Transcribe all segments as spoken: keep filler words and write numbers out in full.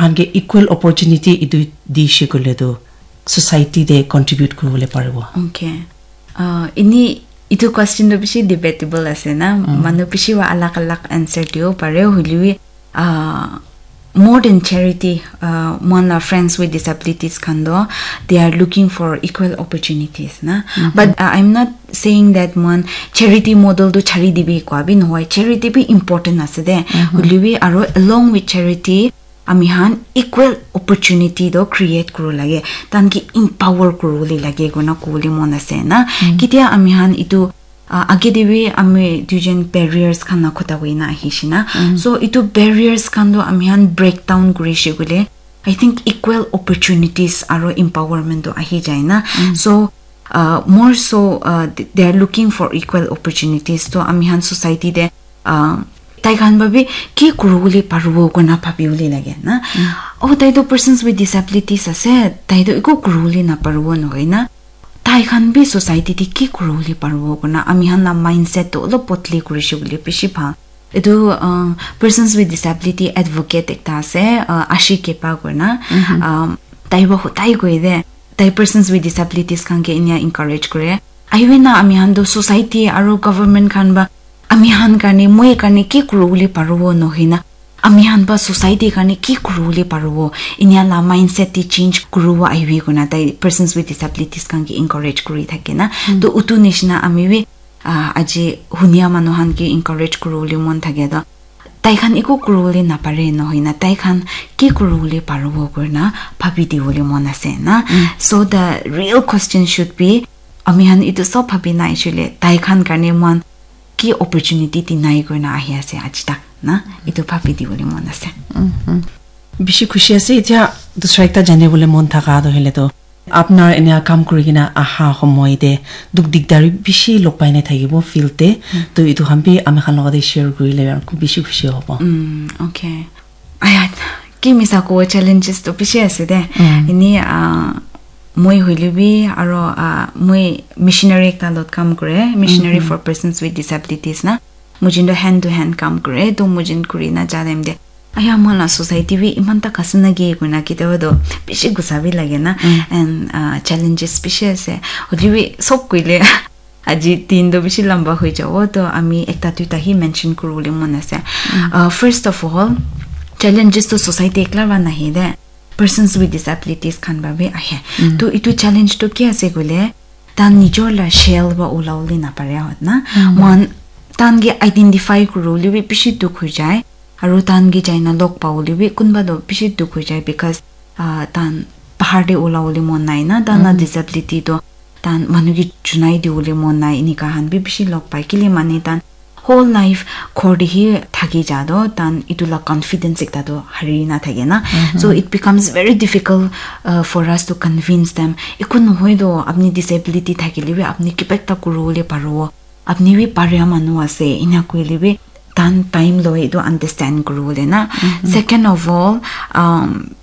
Anke equal opportunity itu di shikule tu society de contribute kuribole paribo. Okay. Uh, ini itu question tu bishi debatable ase na. Manu bishi wa alag alag answer dibo pare, hoilebi, uh, more than charity, uh, mohan la friends with disabilities khan do, they are looking for equal opportunities na. But uh, I'm not saying that mohan charity model tu chari dibi kwa bi nohoi, charity bi important ase de. Hoilebi aro along with charity, ami han equal opportunity do create kuru lage, tan ki empower kuru le lage kona kuli mon ase na. Kitia ami han itu, uh, age de bi ami duijon barriers khan na khota hoina ahi shina. So itu barriers khan do ami han break down kuri shi kule, I think equal opportunities aro empowerment do ahi jai na. So uh, more so uh, th- they are looking for equal opportunities. To ami han society de uh, tai khan ba bi ki kuru le paribo kona bhabi le lage na. Oh, tai to persons with disabilities ase, tai to iko kuru le na paribo nohoi na. Tai khan bi society de ki kuru le paribo kona ami han la mindset to olop botli kuri shi bole bishi bhal. Etu uh, persons with disability advocate ekta ase, uh, Ashi Kepa kona. Um, tai ba hotai koi de, tai persons with disabilities khan ke inia encourage kore. Ahibi na ami han do society aro government khan ba ami han karne, moi karne ki kuru le paribo nohoi na. Ami han ba society karne ki kuru le paribo. Inia la mindset de change kuru ahibi kona tai persons with disabilities khan ke encourage kuri thake na. To utu nishina ami bi uh, aji hunia manu han ke encourage kuru le mon thake do. Tai khan iko kuru le na pare nohoi na. Tai khan ki kuru le paribo kuri na bhabi dibo le mon ase na. So the real question should be, ami han itu sob bhabi na ichule, tai khan karne mon ki opportunity di nai kuri na ahi ase aji tak na. Itu bhabi dibo le mon ase. Bishi khushi ase. Itya dusra ekta jane bole mon thaka do hele to, apnar enia kam kuri kena aha homoy de duk dikdari bishi log pai na thakibo field de. To itu khan bi ami khan logote share kurile bishi khushi hobo. Mm, okay. Aya, ki misa ko challenges to bishi ase de. Ini, ah, moi hoile bi aro, ah, moi missionary ekta lot kam kore, missionary for persons with disabilities na. Mujin to hand to hand kam kore, to mujin kuri na ja time de, aya, mohan la society bi iman ta kasi na ki koi na kiti to bishi gusa bi lage na. And uh, challenges bishi ase. Hoile bi sob koile aji din to bishi lamba hoi jabo, to ami ekta duita hi mention kuribole mon ase. Uh, first of all, challenges to society ekla ba nahi de, persons with disabilities khan ba bi ahe. To itu challenge to ki ase koile, tan nijor la shell ba ulawole napare hot na. Mohan tan ke identify kuribole bi bishi dukh hoi jai. Aru tan ke jaina log pabole bi kunba to bishi dukh hoi jai, because uh, tan bahar te ulawole mon nai na, tan la disability to tan manu ke junai dibole mon nai, enika khan bi bishi log pai. Kile mane tan whole life ghor te hi thaki ja to, tan itu la confidence ekta to hari na thake na. So it becomes very difficult uh, for us to convince them. Eku nohoi to, apni disability thakile bi apni kiba ekta kuribole paribo. Apni bi paria manu ase, ina koile bi tan time loi itu understand kuribole na. Second of all, um,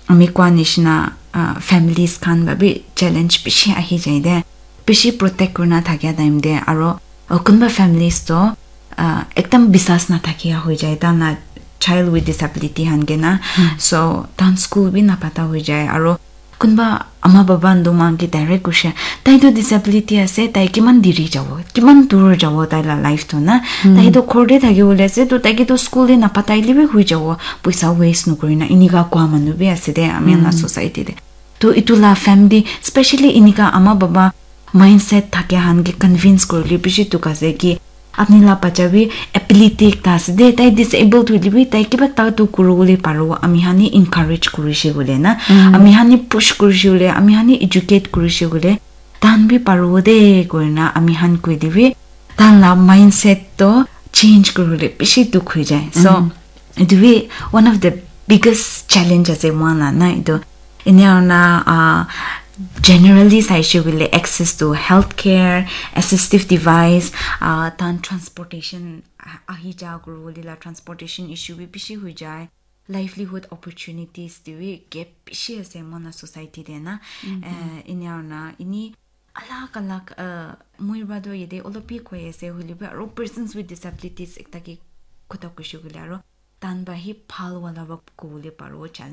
ami koa nishina uh, families khan ba bi challenge bishi ahi jai de. Bishi protect kurina thakia time de, aro uh, kunba families to uh, ekdam bisas na thakia hoi jai, tan la child with disability han ke na. So tan school bi na pata hoi jai, aro kunba ama baba ndu man ke direct kushe, tai to disability ase, tai kiman diri jabo, kiman dur jabo tai la life to na. Tai to ghor te thaki bole ase, to tai ke to school te na patai le bi hui jabo, poisa waste nokori na, inika koa manu bi ase de ami la society te. To itu la family, specially inika ama baba mindset thake han ke convince kuribole bishi dukh ase ki apni la bacha bi ability ekta ase de, tai disabled hoile bi tai kiba ekta to kuribole paribo, ami hani encourage kurishe koile na, ami hani push kurishe koile, ami hani educate kurishe koile, tan bi paribo de koina ami han koi de bi, tan la mindset to change kuribole bishi dukh hoi jai. So, It will be one of the biggest challenge ase mohan la na itu. Enia na uh, generally saishe koile access to healthcare, assistive device, uh, tan transportation, ah, ahi ja kuribole la transportation issue bi bishi hoi jai. Livelihood opportunities te bi gap bishi ase mohan la society te na. Uh, enia na ini alag alag uh, moi ba to yate olop bi koi ase hoile bi aro persons with disabilities ekta ke kotha kuishe koile aro tan ba hi bhal wala ba kobole paribo challenge.